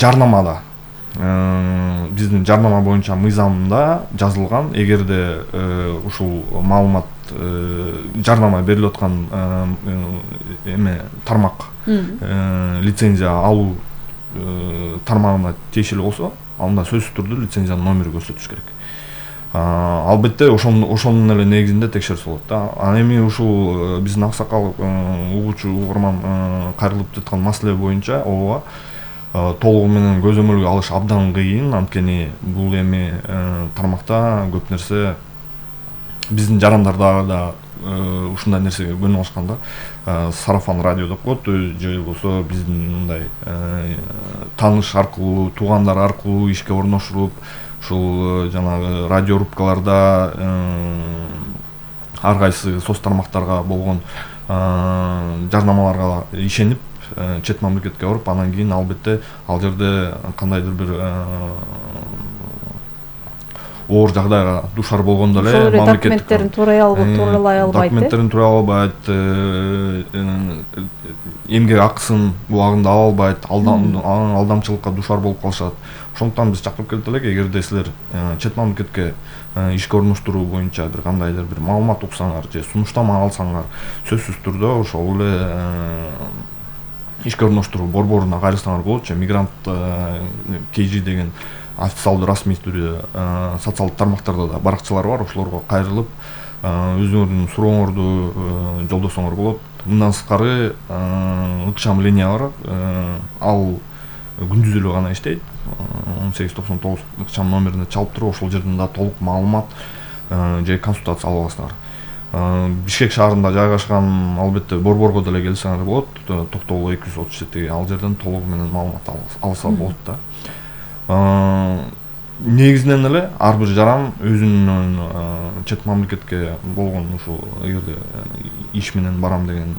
жарнамада биздин жарнама боюнча мыйзамда жазылган, эгерде ушул маалымат жарнама берилип аткан тармак лицензия алуу тармагына тиешелүү болсо, анда сөзсүз түрдө лицензиянын номери көрсөтүш керек. Албетте ошонун эле негизинде текшерсе болот да. Ал эми ушул биздин аксакал угуучу угарман кайрылып жаткан маселе боюнча ооба толугу менен көзөмөлгө алыш абдан кыйын, анткени бул эми тармакта көп нерсе биздин жарандарда да ушундай нерсеге көнүп алышкан да. Сарафан радио деп коет, же болбосо биздин мындай тааныш аркылуу, туугандар аркылуу ишке орношуруп, ушул жанагы радиорубкаларда ар кайсы соц тармактарга болгон жарнамаларга ишенип чет мамлекетке барып, анан кийин албетте ал жерде кандайдыр бир оор жагдайга душар болгондо эле документтерин тууралай албайт, документтерин тууралай албайт, эмгек акысын убагында ала албайт, алдамчылыкка душар болуп калышат. Ошондуктан биз чакырып келип элек, эгерде силер чет мамлекетке ишке орноштуруу боюнча бир кандайдыр бир маалымат уксаңар же сунуштама алсаңар, сөзсүз түрдө ошол эле ишке орноштуруу борборуна кайрылсаңар болот. Же мигрант KG деген официалдуу расмий түрдө социалдык тармактарда да баракчалар бар, ошолорго кайрылып өзүңөрдүн сурооңорду жолдосоңор болот. Мындан сырткары ыкчам линия бар, ал күндүз эле гана иштейт, 1899 ыкчам номерине чалып туруп, ошол жерден да толук маалымат же консультация ала аласыңар. Бишкек шаарында жайгашкан, албетте борборго деле келсеңер болот, Токтогул 237, ал жерден толугу менен маалымат алса болот да. Негизинен эле ар бир жаран өзүнүн чет мамлекетке болгон ушул эгерде иш менен барам деген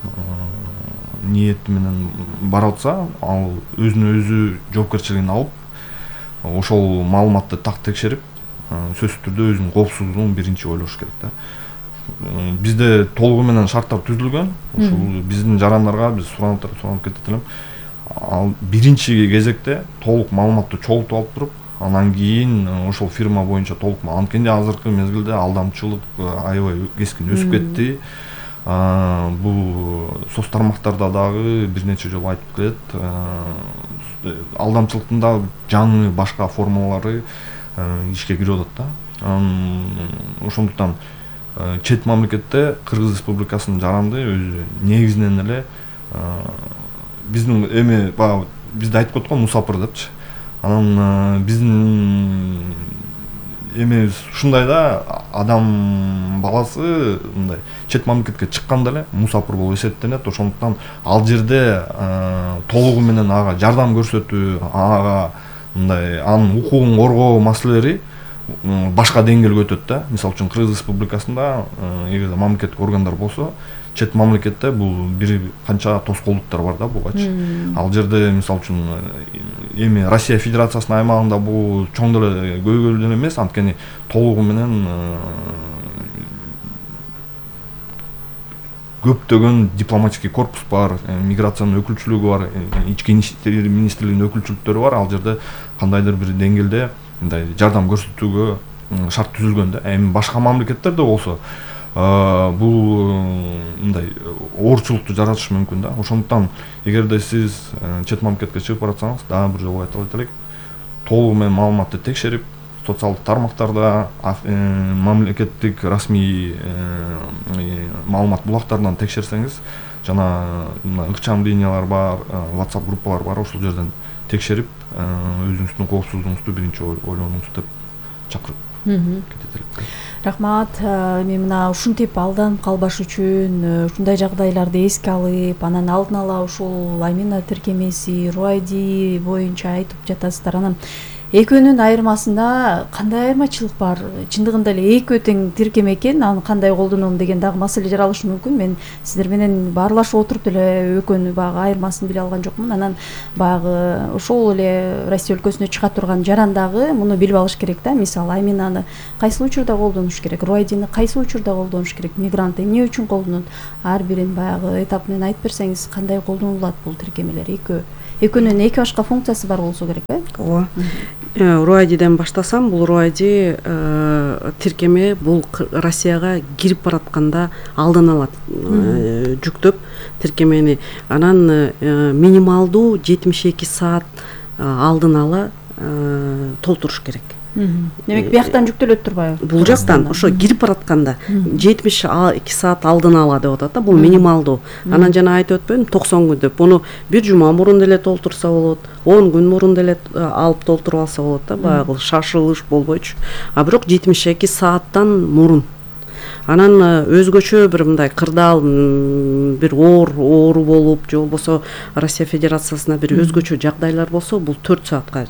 ниети менен бара атса, ал өзүнө өзү жоопкерчилигин алып, ошол маалыматты так текшерип, сөзсүз түрдө өзүнүн коопсуздугун биринчи ойлош керек да. Бизде толугу менен шарттар түзүлгөн. Ушул биздин жарандарга биз суранып кетет элем. Ал биринчи кезекте толук маалыматты чогултуп алып туруп, анан кийин ошол фирма боюнча толук, анткени азыркы мезгилде алдамчылык аябай кескин өсүп кетти. Бул соц тармактарда дагы бир нече жолу айтып келет. Алдамчылыктын да жаңы башка формалары ишке кирип атат да. Ошондуктан чет мамлекетте Кыргыз Республикасынын жаранды өзү негизинен эле биздин эми баягы бизде айтып коет го мусапыр депчи. Анан биздин эми ушундай да, адам баласы мындай чет мамлекетке чыкканда эле мусапыр болуп эсептенет. Ошондуктан ал жерде толугу менен ага жардам көрсөтүү, ага мындай анын укугун коргоо маселелери башка деңгээлге өтөт да. Мисалы үчүн Кыргыз Республикасында эгерде мамлекеттик органдар болсо, чет мамлекетте бул бир канча тоскоолдуктар бар да бугачы. Ал жерде мисалы үчүн эми Россия Федерациясынын аймагында бул чоң деле көйгөйлүү эмес, анткени толугу менен көптөгөн дипломатический корпус бар, миграциянын өкүлчүлүгү бар, ички иштер министрлигинин өкүлчүлүктөрү бар. Ал жерде кандайдыр бир деңгээлде мындай жардам көрсөтүүгө шарт түзүлгөн да. Эми башка мамлекеттерде болсо бул мындай оорчулукту жаратышы мүмкүн да. Ошондуктан эгерде сиз чет мамлекетке чыгып баратсаңыз, дагы бир жолу айтып элек, толугу менен маалыматты текшерип, социалдык тармактарда, мамлекеттик расмий маалымат булактарынан текшерсеңиз, жана ыкчам линиялар бар, WhatsApp группалар бар, ошол жерден текшерип, өзүңүздүн коопсуздугуңузду биринчи ойлонуңуз деп чакырып кетет элек. Рахмат. Эми мына ушинтип алданып калбаш үчүн ушундай жагдайларды эске алып, анан алдын ала ушул Аймина тиркемеси, RUID боюнча айтып жатасыздар. Анан экөөнүн айырмасында кандай айырмачылык бар? Чындыгында эле экөө тең тиркеме экен, аны кандай колдоном деген дагы маселе жаралышы мүмкүн. Мен сиздер менен баарлашып отуруп деле экөөнүн багы айырмасын биле алган жокмун. Анан багы ошол эле Россия өлкөсүнө чыга турган жаран дагы муну билип алыш керек да. Мисалы, Айминаны кайсы учурда колдонуш керек, RUID-ны кайсы учурда колдонуш керек, мигрант эмне үчүн колдонот? Ар бирин баягы этап менен айтып берсеңиз, кандай колдонулат бул тиркемелер? экөөнүн эки башка функциясы бар болсо керек ооба. Руайдиден баштасам, бул руайди тиркеме бул Россияга кирип баратканда алдын ала жүктөп тиркемени, анан минималдуу 72 саат алдын ала толтуруш керек. Демек бияктан жүктөлөт турбайбы? Бул жактан ошо кирип баратканда 72 саат алдын ала деп атат да, бул минималдуу. Анан жана айтып өтпөдүм 90 күн деп. Буну бир жума мурун деле толтурса болот, 10 күн мурун деле алып толтуруп алса болот да, баягы шашылыш болбойчу. А бирок 72 сааттан мурун. Анан өзгөчө бир мындай кырдаал бир оору болуп, же болбосо Россия Федерациясына бир өзгөчө жагдайлар болсо, бул 4 саатка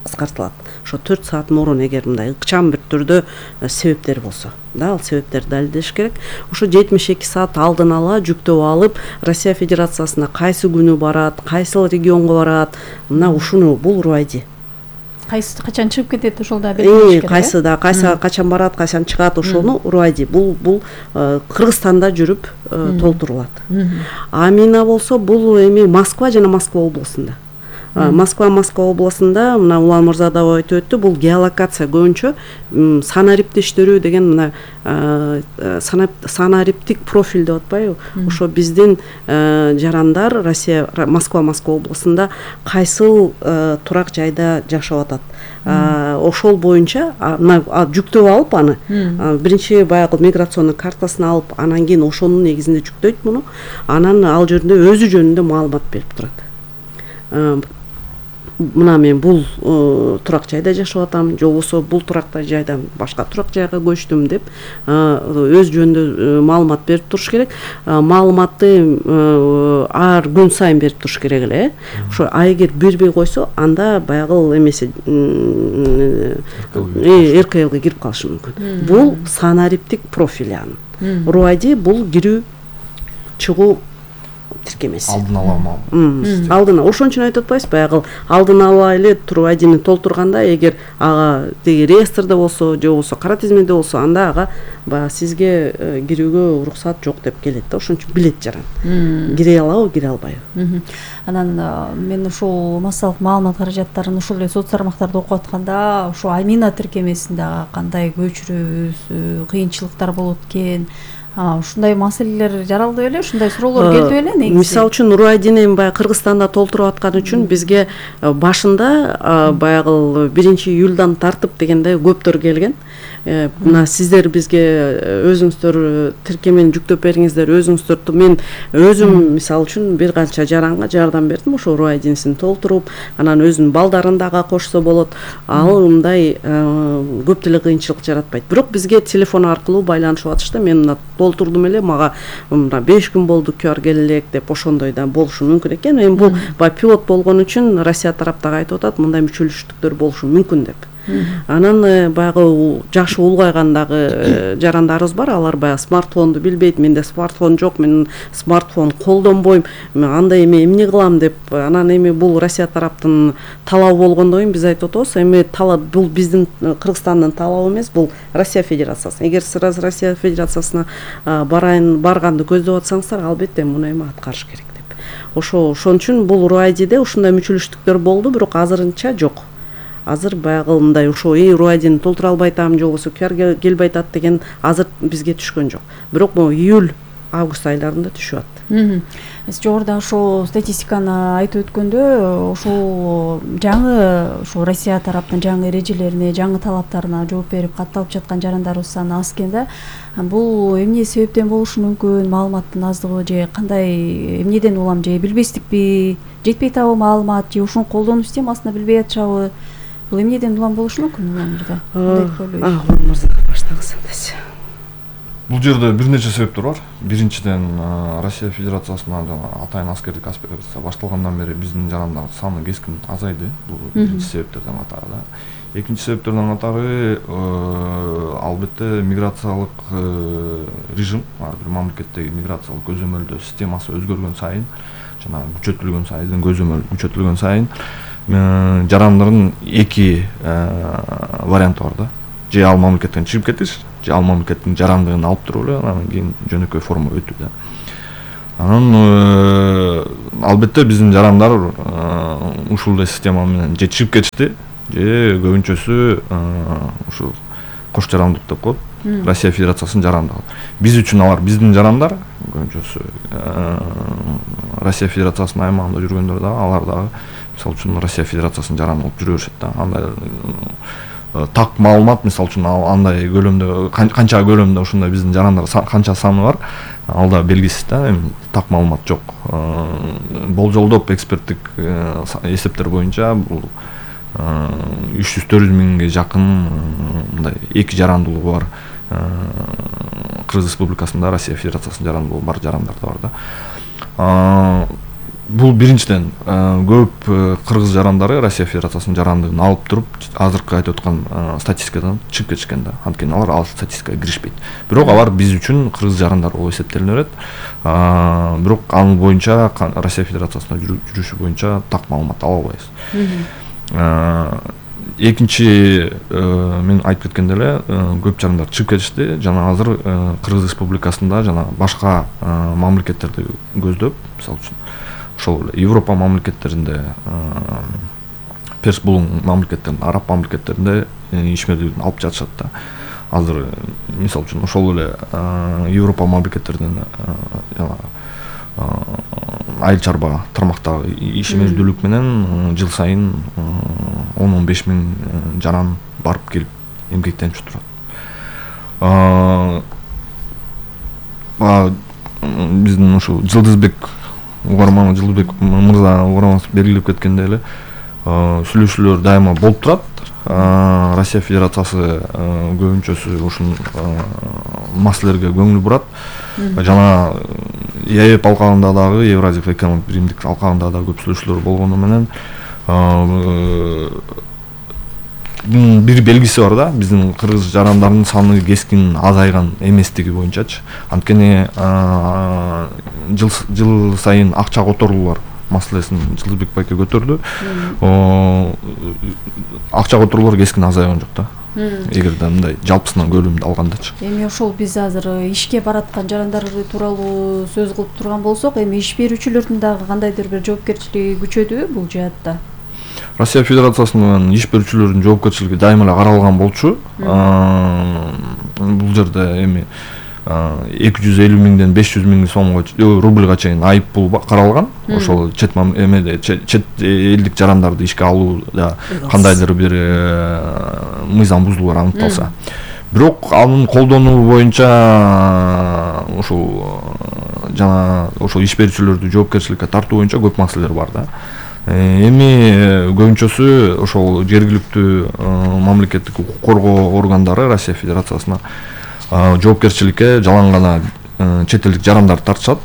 кыскартылат. Ошо 4 саат мурун эгер мындай ыкчам бир түрдө себептер болсо, да, ал себептерди далилдеш керек. Ошо 72 саат алдын ала жүктөп алып, Россия Федерациясына кайсы күнү барат, кайсыл регионго барат, мына ушуну бул руайди. Кайсы качан чыгып кетет, ошол да белгилеш керек. Кайсы да качан барат, качан чыгат, ошону руайди. Бул Кыргызстанда жүрүп толтурулат. А Мина болсо бул эми Москва жана Москва областында. Москва областында мына Улан мырза да айтып өттү, бул геолокация көбүнчө санариптештирүү деген мына санариптик профиль деп атпайбы? Ошо биздин жарандар Россия Москва областында кайсыл турак жайда жашап атат. Ошол боюнча жүктөп алып аны биринчи баягы миграционный картасын алып, анан кийин ошонун негизинде жүктөйт муну. Анан ал жерде өзү жөнүндө маалымат берип турат. Мына мен бул турак жайда жашап атам, же болбосо бул туракта жайдан башка турак жайга көчтүм деп өз жөнүндө маалымат берип туруш керек. Маалыматты ар күн сайын берип туруш керек эле. Ошо эгер бербей койсо, анда баягы эмеси РКЛга кирип калышы мүмкүн. Бул санариптик профиль анын. Руайди бул кирүү чыгуу тиркемеси. Алдын ала маалымат. Алдын ала. Ошон үчүн айтып атпайбыз, баягы алдын ала эле руайдини толтурганда, эгер ага теги реестрде болсо, же болбосо кара тизмеде болсо, анда ага баягы сизге кирүүгө уруксат жок деп келет да. Ошон үчүн билет жаран. Кире алабы, кире албайбы. Анан мен ушул массалык маалымат каражаттарын ушул эле соц тармактарда окуп атканда, ошо Амина тиркемесинде кандай көчүрөбүз, кыйынчылыктар болот экен, ушундай маселелер жаралды беле, ушундай суроолор келди беле негизи? Мисалы үчүн руайдини баягы Кыргызстанда толтуруп аткан үчүн бизге башында баягы 1-июлдан тартып дегенде көптөр келген. Мына сиздер бизге өзүңүздөр тиркемени жүктөп бериңиздер, өзүңүздөр. Мен өзүм мисалы үчүн бир канча жаранга жардам бердим, ошо руайдинсин толтуруп, анан өзүнүн балдарын дагы кошсо болот. Ал мындай көп деле кыйынчылык жаратпайт. Бирок бизге телефон аркылуу байланышып атышты. Мен мына толтурдум эле, мага мына 5 күн болду QR келе элек деп, ошондой да болушу мүмкүн экен. Эми бул пилот болгон үчүн Россия тараптагы айтып атат, мындай мүчөлүштүктөр болушу мүмкүн деп. Анан баягы жашы улгайгандагы жарандарыбыз бар, алар баягы смартфонду билбейт, менде смартфон жок, мен смартфон колдонбойм, мен андай эмне кылам деп. Анан эми бул Россия тараптын талабы болгондон кийин биз айтып атабыз, эми талап бул биздин Кыргызстандын талабы эмес, бул Россия Федерациясы. Эгер сиз Россия Федерациясына барганды көздөп атсаңыздар, албетте муну эми аткарыш керек деп. Ошон үчүн бул руайдиде ушундай мүчөлүштүктөр болду, бирок азырынча жок. Азыр баягы мындай ошо руайдини толтура албай атам, же болбосо QR келбей атат деген азыр бизге түшкөн жок. Бирок могу июль, август айларында түшүп атты. Сиз жогоруда ошо статистиканы айтып өткөндө, ошол жаңы ошо Россия тараптын жаңы эрежелерине, жаңы талаптарына жооп берип катталып жаткан жарандарыбыз саны аз экен да. Бул эмне себептен болушу мүмкүн? Маалыматтын аздыгы же кандай, эмнеден улам, же билбестикпи, жетпей атабы маалымат, же ушуну колдонуу системасында билбей атышабы? Бул эмнеден улам болушу мүмкүн Улан мырза? Баштагыз эндеси. Бул жерде бир нече себептер бар. Биринчиден, Россия Федерациясына атайын аскердик операция башталгандан бери биздин жарандар саны кескин азайды. Бул биринчи себептерден катары да. Экинчи себептерден катары албетте миграциялык режим, бир мамлекеттеги миграциялык көзөмөлдөө системасы өзгөргөн сайын, жана күчөтүлгөн сайын, көзөмөл күчөтүлгөн сайын жарандардын эки варианты бар да. Же ал мамлекеттен чыгып кетиш, же ал мамлекеттин жарандыгын алып туруп эле анан кийин жөнөкөй форма өтүү да. Анан албетте биздин жарандар ушул эле система менен же чыгып кетишти, же көбүнчөсү ушул кош жарандык деп коет, Россия Федерациясынын жарандыгы. Биз үчүн алар биздин жарандар, көбүнчөсү Россия Федерациясынын аймагында жүргөндөр дагы, алар дагы мисалы үчүн Россия Федерациясынын жараны болуп жүрө беришет да. Андай так маалымат, мисалы үчүн андай көлөмдө канча көлөмдө ушундай биздин жарандар канча саны бар, ал да белгисиз да, эми так маалымат жок. Болжолдоп эксперттик эсептер боюнча бул 300-400 миңге жакын мындай эки жарандуулугу бар Кыргыз Республикасында Россия Федерациясынын жарандуулугу бар жарандар да бар да. Бул биринчиден көп кыргыз жарандары Россия Федерациясынын жарандыгын алып туруп, азыркы айтып аткан статистикадан чыгып кетишкен да. Анткени алар ал статистикага киришпейт. Бирок алар биз үчүн кыргыз жарандар болуп эсептелине берет. Бирок анын боюнча Россия Федерациясында жүрүшү боюнча так маалымат ала албайбыз. Экинчи мен айтып кеткендей эле көп жарандар чыгып кетишти. Жана азыр Кыргыз Республикасында жана башка мамлекеттерди көздөп, мисалы үчүн ошол Европа мамлекеттеринде, Перс булуң мамлекеттеринде, араб мамлекеттеринде ишмердүүлүгүн алып жатышат да. Азыр мисалы үчүн ошол эле Европа мамлекеттеринен айыл чарба тармактагы ишмердүүлүк менен жыл сайын 10-15 миң жаран барып келип эмгектенип турат. Биздин ушу Жылдызбек мырза угарманыбыз белгилеп кеткендей эле сүйлөшүүлөр дайыма болуп турат. Россия Федерациясы көбүнчөсү ушул маселелерге көңүл бурат. Жана ЕАЭП алкагында дагы, Евразиялык экономикалык биримдик алкагында да көп сүйлөшүүлөр болгону менен бир белгиси бар да, биздин кыргыз жарандардын саны кескин азайган эместиги боюнчачы. Анткени жыл сайын акча которуулар маселесин Жылдызбек байке көтөрдү. Акча которуулар кескин азайган жок да. Эгерде мындай жалпысынан көлөмдө алгандачы. Эми ошол биз азыр ишке бараткан жарандар тууралуу сөз кылып турган болсок, эми иш берүүчүлөрдүн дагы кандайдыр бир жоопкерчилиги күчөдүбү бул жаатта? Россия Федерациясынын иш берүүчүлөрүнүн жоопкерчилиги дайыма эле каралган болчу. Бул жерде эми 250 миңден 500 миң сомго рубльга чейин айып пул каралган. Ошол чет элдик жарандарды ишке алууда кандайдыр бир мыйзам бузулуулар аныкталса. Бирок анын колдонуу боюнча ушул жана ошол иш берүүчүлөрдү жоопкерчиликке тартуу боюнча көп маселелер бар да. Эми көбүнчөсү ошол жергиликтүү мамлекеттик укук коргоо органдары Россия Федерациясына жоопкерчиликке жалаң гана чет элдик жарандар тартышат.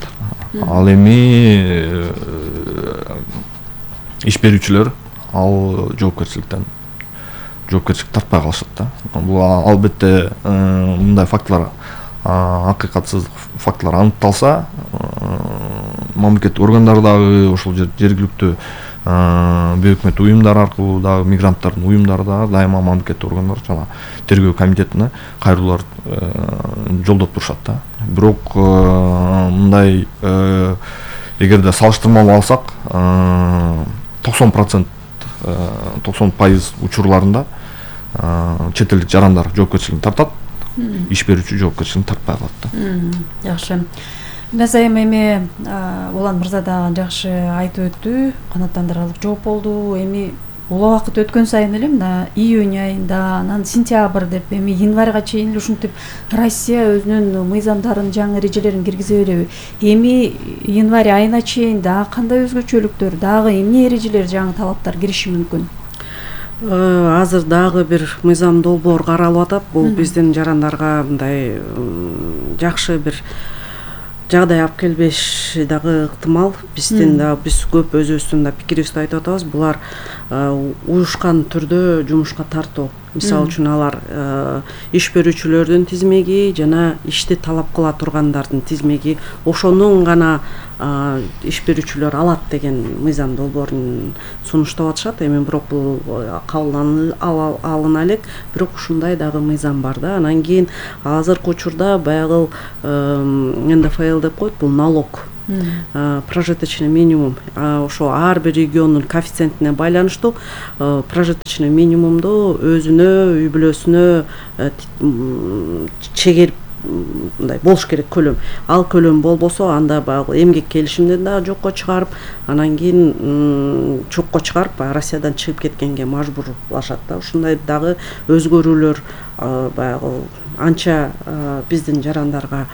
Ал эми иш берүүчүлөр ал жоопкерчилик тартпай калышат да. Бул албетте мындай фактылар, акыйкатсыз фактылар аныкталса, мамлекеттик органдар дагы ошол жергиликтүү бейөкмөт уюмдар аркылуу дагы мигранттардын уюмдары дагы дайыма мамлекеттик органдар жана тергөө комитетине кайрылуулар жолдоп турушат да. Бирок мындай эгерде салыштырмалуу алсак 90% учурларында чет элдик жарандар жоопкерчилигин тартат, иш берүүчү жоопкерчилигин тартпай калат да. Жакшы. Назайым эми Улан мырза да жакшы айтып өттү, канааттандырарлык жооп болду. Эми убакыт өткөн сайын эле мына июнь айында, анан сентябрь деп, эми январга чейин ушинтип Россия өзүнүн мыйзамдарын, жаңы эрежелерин киргизе береби? Эми январь айына чейин дагы кандай өзгөчөлүктөр, дагы эмне эрежелер, жаңы талаптар кириши мүмкүн? Азыр дагы бир мыйзам долбоор каралып атат. Бул биздин жарандарга мындай жакшы бир жагдай алып келбеши дагы ыктымал. Биздин да биз көп өзүбүздүн да пикирибизди айтып атабыз. Булар уюшкан түрдө жумушка тартуу. Мисалы үчүн алар иш берүүчүлөрдүн тизмеги жана ишти талап кыла тургандардын тизмеги, ошонун гана иш берүүчүлөр алат деген мыйзам долбоорун сунуштап атышат. Эми бирок бул кабыл алына элек, бирок ушундай дагы мыйзам бар да. Анан кийин азыркы учурда баягы НДФЛ деп коет, бул налог прожиточный минимум. Ошо ар бир региондун коэффициентине байланыштуу прожиточный минимумду өзүнө, үй бүлөсүнө чегерип мындай болуш керек көлөм. Ал көлөм болбосо анда баягы эмгек келишимден дагы жокко чыгарып, анан кийин чокко чыгарып Россиядан чыгып кеткенге мажбурлашат да. Ушундай дагы өзгөрүүлөр баягы анча биздин жарандарга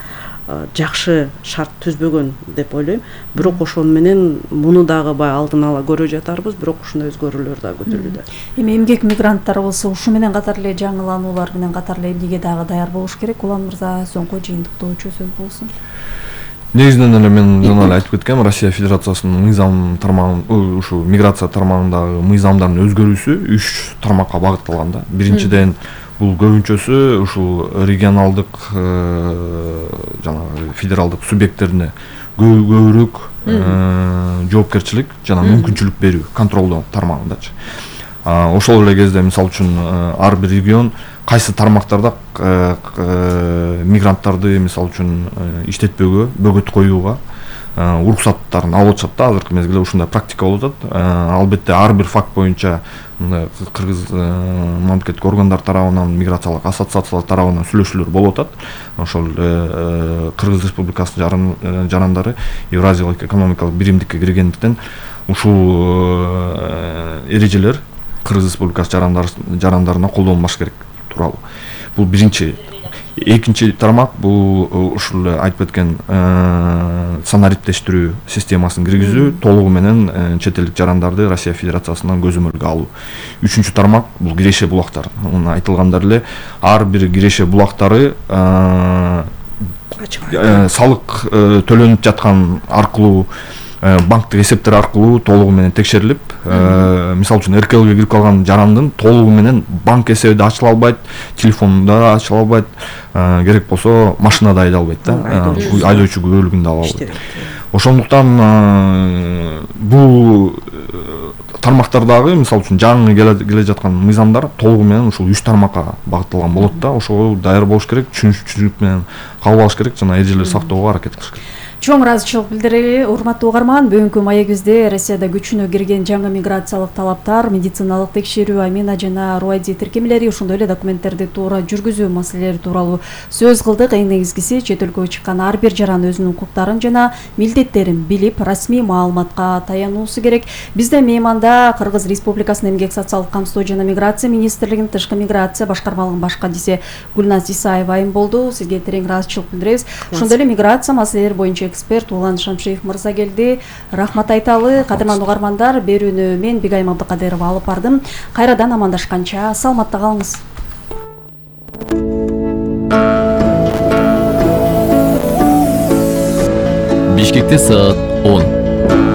жакшы шарт түзбөгөн деп ойлойм. Бирок ошону менен муну дагы баягы алдын ала көрө жатарбыз, бирок ушундай өзгөрүүлөр дагы күтүлүүдө. Эми эмгек мигранттары болсо ушу менен катар эле жаңылануулар менен катар эле эмнеге дагы даяр болуш керек? Улан мырза, соңку жыйынтыктоочу сөз болсун. Негизинен эле мен жана эле айтып кеткем, Россия Федерациясынын мыйзам тармагын, ушу миграция тармагындагы мыйзамдардын өзгөрүүсү 3 тармакка багытталган да. Биринчиден бул көбүнчөсү ушул регионалдык жана федералдык субъекттерине көбүрөөк жоопкерчилик жана мүмкүнчүлүк берүү, контролдоо тармагындачы. Ошол эле кезде мисалы үчүн ар бир регион кайсы тармактарда мигранттарды мисалы үчүн иштетпөөгө, бөгөт коюуга уруксаттарын алып атышат да. Азыркы мезгилде ушундай практика болуп атат. Албетте ар бир факт боюнча кыргыз мамлекеттик органдар тарабынан, миграциялык ассоциациялар тарабынан сүйлөшүүлөр болуп атат. Ошол Кыргыз Республикасынын жарандары Евразиялык экономикалык биримдикке киргендиктен ушул эрежелер Кыргыз Республикасы жарандарына колдонулмаш керек тууралуу. Бул биринчи. Экинчи тармак бул ушул айтып кеткен санариптештирүү системасын киргизүү, толугу менен чет элдик жарандарды Россия Федерациясынан көзөмөлгө алуу. Үчүнчү тармак бул киреше булактар. Муну айтылгандар эле ар бир киреше булактары салык төлөнүп жаткан аркылуу, банктык эсептер аркылуу толугу менен текшерилип, мисалы үчүн РКЛге кирип калган жарандын толугу менен банк эсеби да ачыла албайт, телефону да ачыла албайт, керек болсо машина да айдай албайт да, айдоочу күбөлүгүн да ала албайт. Ошондуктан бул тармактардагы мисалы үчүн жаңы келе жаткан мыйзамдар толугу менен ушул 3 тармакка багытталган болот да. Ошого даяр болуш керек, түшүнүк менен кабыл алыш керек жана эрежелерди сактоого аракет кылыш керек. Чоң ыраазычылык билдирели. Урматтуу угарман, бүгүнкү маегибизде Россияда күчүнө кирген жаңы миграциялык талаптар, медициналык текшерүү, амина жана РУАЙДИ тиркемелери, ошондой эле документтерди туура жүргүзүү маселелери тууралуу сөз кылдык. Эң негизгиси чет өлкөгө чыккан ар бир жаран өзүнүн укуктарын жана милдеттерин билип, расмий маалыматка таянуусу керек. Бизде мейманда Кыргыз Республикасынын эмгек социалдык камсыздоо жана миграция министрлигинин тышкы миграция башкармалыгынын баш кадиси Гүлназ Исаева айым болду. Сизге терең ыраазычылык билдиребиз. Ошондой эле миграция маселелери боюнча эксперт Улан Шамшиев мырза келди. Рахмат айталы. Кадырман угармандар, берүүнү мен Бигайым Абдыкадырова алып бардым. Кайрадан амандашканча саламатта калыңыз. Бишкекте саат 10.